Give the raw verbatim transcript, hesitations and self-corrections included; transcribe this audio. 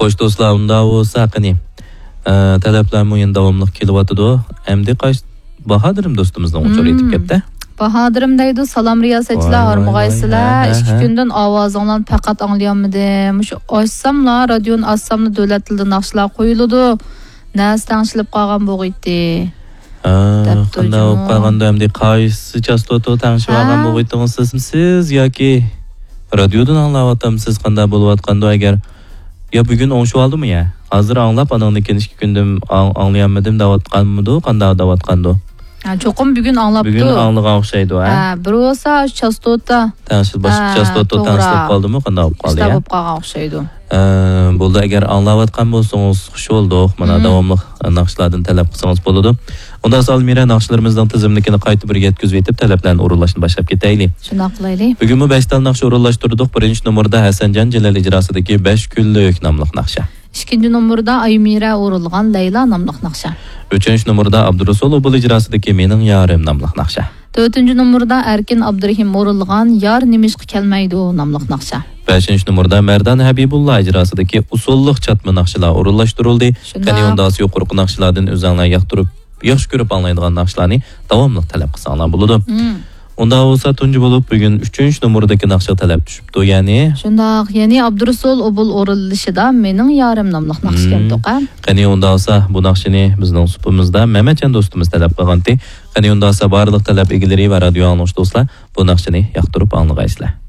خوش دوستلار، ئۇنداق بولسا قېنى، ئە، تەلەپلەرمۇ يەنە داۋاملىق كېلىۋاتىدۇ. ئەمدى قايسى باھادىرىم دوستىمىزنىڭ ئۇچۇرى يېتىپ كەپتۇ. باھادىرىم دەيدۇ، سالام رىياسەتچىلەر، ھارمىغايسىلەر. ھە، ھە. ئىككى كۈندىن ئاۋازىڭلارنى پەقەت ئاڭلىيالمىدىم. مۇشۇ ئاچساملا، رادىيونى ئاچساملا دۆلەت تىلىدا ناخشىلار قويۇلىدۇ. نەرسە تەڭشىلىپ قالغان بولغىيتتى. ھە، دەپتۇ قانداق بولۇپ جۇمۇ. قالغاندۇ ئەمدى؟ قايسى چاستوتا تەڭشىۋالغان ھە؟ بولغىيتتىڭىز سىزمۇ سىز ياكى رادىيودىن ئاڭلاۋاتامسىز؟ قانداق بولۇۋاتقاندۇ ئەگەر؟ يا بۈگۈن ئوڭشىۋالدىمۇ يا؟ ھازىر ئاڭلاپ، ئانىڭدىن كېيىن ئىككى كۈندىن ئاڭ-، ئاڭلىيالمىدىم دەۋاتقانمىدۇ؟ قانداق دەۋاتقاندۇ؟ ھە، چوقۇم بۈگۈن ئاڭلاپتۇ. بۈگۈن ئاڭلىغان ئوخشايدۇ، ھە؟ ھە، بىر بولسا چاستوتا. تەڭشىل باشقا ھە، چاستوتا توغرا. تەڭشىلىپ قالدىمۇ؟ قانداق بولۇپ قالدى، ئىشلار يا؟ بولۇپ قالغان ئوخشايدۇ. ئە، بولدى، ئەگەر ئاڭلاۋاتقان بولسىڭىز، خۇش بولدۇق. مانا، مم. داۋاملىق ناخشىلاردىن تەلەپ قىلسىڭىز بولىدۇ. ئۇنداق بولسا ئالمىرە، ناخشىلىرىمىزنىڭ تىزىملىكىنى قايتا بىر يەتكۈزۈۋېتىپ، تەلەپلەرنى ئورۇنلاشنى باشلاپ كېتەيلى. شۇنداق قىلايلى. بۈگۈنمۇ بەش تال ناخشا ئورۇنلاشتۇردۇق. بىرىنچى نومۇردا ھەسەنجان جېلىل ئىجراسىدىكى بەش كۈنلۈك ناملىق ناخشا. ئىككىنچى نومۇردا ئايمىرە ئورۇنلىغان لەيلا ناملىق ناخشا. ئۈچىنچى نومۇردا ئابدۇرۇسۇل ئوبۇل ئىجراسىدىكى مېنىڭ يارىم ناملىق ناخشا. تۆتىنچى نومۇردا ئەركىن ئابدۇرېھىم ئورۇنلىغان يار نېمىشقا كەلمەيدۇ ناملىق ناخشا. بەشىنچى نومۇردا مەردان ھەبىبۇللا ئىجراسىدىكى ئۇسسۇللۇق چاتما ناخشىلار ئورۇنلاشتۇرۇلدى. شۇنداق. قېنى ئۇنداقسا يۇقىرىقى ناخشىلاردىن ئۆزۈڭلار ياقتۇرۇپ، ياخشى كۆرۈپ ئاڭلايدىغان ناخشىلارنى داۋاملىق تەلەپ قىلساڭلار بولىدۇ. مم. ئۇنداق بولسا تۇنجى بولۇپ بۈگۈن ئۈچىنچى نومۇردىكى ناخشا تەلەپ چۈشۈپتۇ، يەنى. شۇنداق، يەنى ئابدۇرۇسۇل ئوبۇل ئورۇنلىشىدا مېنىڭ يارىم ناملىق ناخشا مم. كەلدۇق، ھە؟ قېنى ئۇنداق بولسا بۇ ناخشىنى بىزنىڭ سۇپىمىزدا مەمەتجان دوستىمىز تەلەپ قىلغانتى. قېنى ئۇنداق بولسا بارلىق تەلەپ ئىگىلىرى ۋە رادىيو ئاڭلىغۇچى دوستلار بۇ ناخشىنى ياقتۇرۇپ ئاڭلىغايسىلەر.